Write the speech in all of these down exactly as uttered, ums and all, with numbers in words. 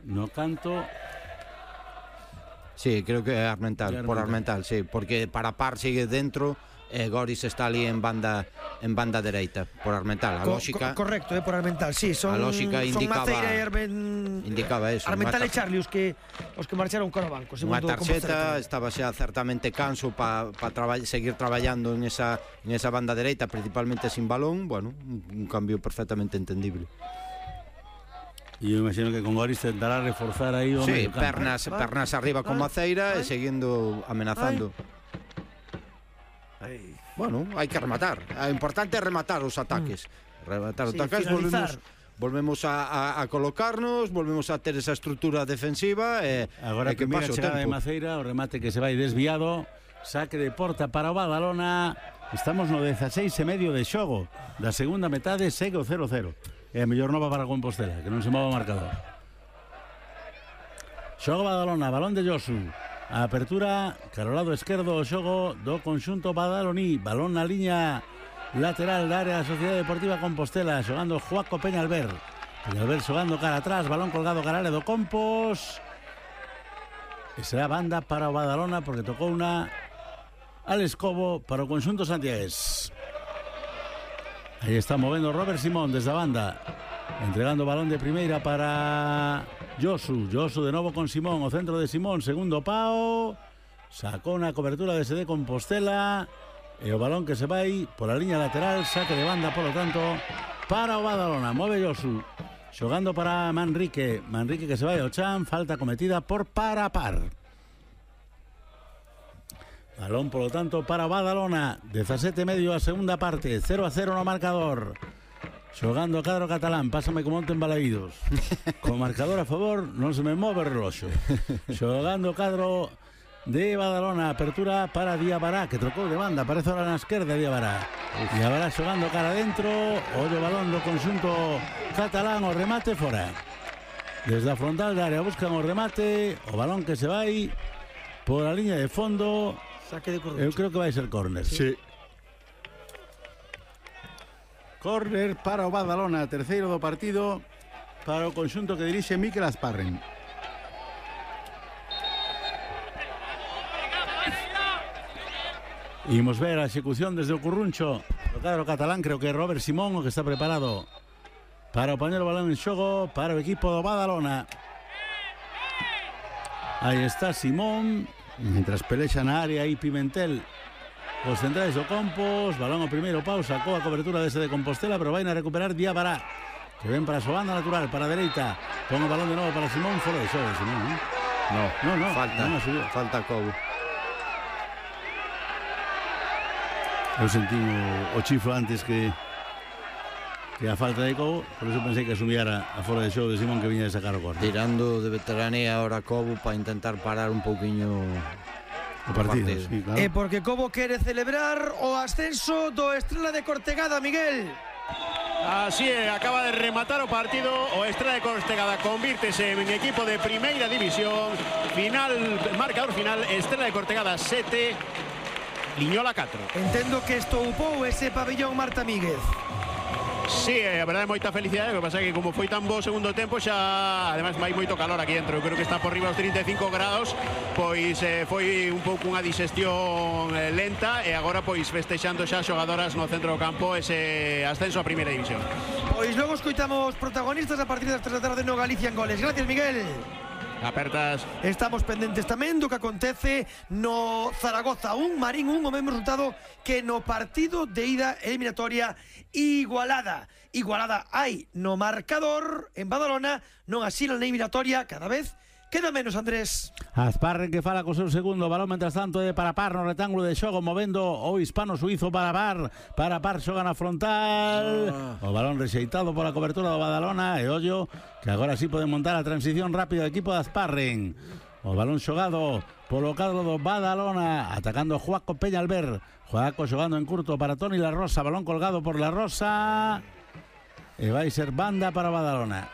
no canto. Sí, creo que é Armental, por Armental, sí, porque Parapar sigue dentro e Goris está ali en banda en banda dereita por Armental. A Co lógica co Correcto, é eh, por Armental, sí, son, a lógica indicaba, son Maceira e Armen... indicaba eso. Armental e Charlie os que os que marcharon cara ao banco, Unha tarxeta, estaba xa certamente canso para pa traba, seguir traballando en esa en esa banda dereita, principalmente sin balón, bueno, un, un cambio perfectamente entendible. E eu imagino que con Goris tentará reforzar aí o sí, medio campo. pernas, Ay, pernas arriba con Maceira e seguindo amenazando. Ay. Bueno, hai que rematar. O importante é rematar os ataques. Mm. Rematar os sí, ataques, volvemos volvemos a, a, a colocarnos, volvemos a ter esa estrutura defensiva e agora e que primeira pase o chegada de tempo. Maceira, o remate que se vai desviado, saque de porta para o Badalona. Estamos no dezaseis e medio de xogo da segunda metade, segue o cero cero. É a mellor nova para Compostela, que non se mova o marcador. Xogo Badalona, balón de Josu. A apertura, cara ao lado esquerdo, o xogo do conxunto badaloní. Balón na liña lateral da área da Sociedade Deportiva Compostela, xogando Joaco Peñalver. Peñalver xogando cara atrás, balón colgado cara área do Compos. E será banda para o Badalona, porque tocou unha al escobo para o conxunto santiagués. Aí está movendo Robert Simón desde a banda, entregando balón de primeira para Josu. Josu de novo con Simón, o centro de Simón, segundo pao, sacou na cobertura de S D Compostela e o balón que se vai pola liña lateral, saque de banda, polo tanto, para o Badalona. Move Josu, xogando para Manrique, Manrique que se vai ao chan, falta cometida por Parapar. Balón, polo tanto, para o Badalona. dezasete e medio a segunda parte, cero a cero no marcador. Xogando o cadro catalán, pásame como onte en Balaídos. Con marcador a favor, non se me move o reloxo. Xogando o cadro de Badalona, apertura para Diabará, que trocou de banda, parece ahora na esquerda Diabará. Diabará xogando cara dentro, ollo balón do conxunto catalán, o remate fora. Desde a frontal da área buscan o remate, o balón que se vai por a liña de fondo. Saque de Corrucho. Eu creo que vai ser córner. Sí. Córner para o Badalona, terceiro do partido para o conxunto que dirixe Mikel Asparren. Imos ver a execución desde o Curruncho do cadro catalán, creo que é Robert Simón o que está preparado para o poñer o balón en xogo para o equipo do Badalona. Aí está Simón, mientras pelexa na área aí Pimentel os centrais do Compos, balón o primeiro pau, sacou a cobertura dese de Compostela, pero vai a recuperar Diabará, que ven para a súa banda natural, para a dereita, pon o balón de novo para Simón, fora de xogo Simón, non? No, no, no, falta, non falta Cobo. Eu sentí o, o chiflo antes que que a falta de Cobo, por eso pensei que asumiera a fora de xogo de Simón que viña de sacar o corte. Tirando de veteranía ahora Cobo para intentar parar un pouquiño o partido, partido. Sí, claro. E porque Cobo quere celebrar o ascenso do Estrela de Cortegada, Miguel. Así é, acaba de rematar o partido. O Estrela de Cortegada convírtese en equipo de primeira división. Final, marcador final, Estrela de Cortegada sete, Liñola catro. Entendo que estoupou ese pabellón Marta Míguez. Sí, a verdade, moita felicidade. O que pasa é que como foi tan bo segundo tempo, xa ademais vai moito calor aquí dentro. Eu creo que está por riba dos trinta e cinco grados. Pois eh, foi un pouco unha digestión eh, lenta. E agora pois festexando xa xogadoras no centro do campo ese ascenso a primeira división. Pois logo escoitamos protagonistas a partir das tres da tarde no Galicia en Goles. Gracias, Miguel. Apertas. Estamos pendentes tamén do que acontece no Zaragoza un, Marín un, o mesmo resultado que no partido de ida eliminatoria igualada. Igualada hai no marcador en Badalona, non así na eliminatoria, cada vez queda menos, Andrés. Asparren que fala co seu segundo balón, mentras tanto é Parapar no retángulo de xogo, movendo o hispano-suizo Parapar. Parapar xoga na frontal. Oh. O balón rexeitado pola cobertura do Badalona. E ollo que agora sí poden montar a transición rápida do equipo de Asparren. O balón xogado polo cadro do Badalona, atacando Joaco Peñalver. Joaco xogando en curto para Toni La Rosa. Balón colgado por La Rosa. E vai ser banda para Badalona.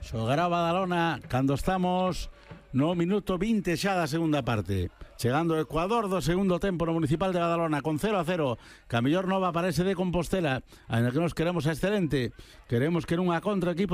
Xogará Badalona cando estamos no minuto vinte xa da segunda parte. Chegando o Ecuador do segundo tempo no Municipal de Badalona con cero a cero. Que a mellor nova parece de Compostela, ainda que nos queremos a excelente. Queremos que nunha contra equipo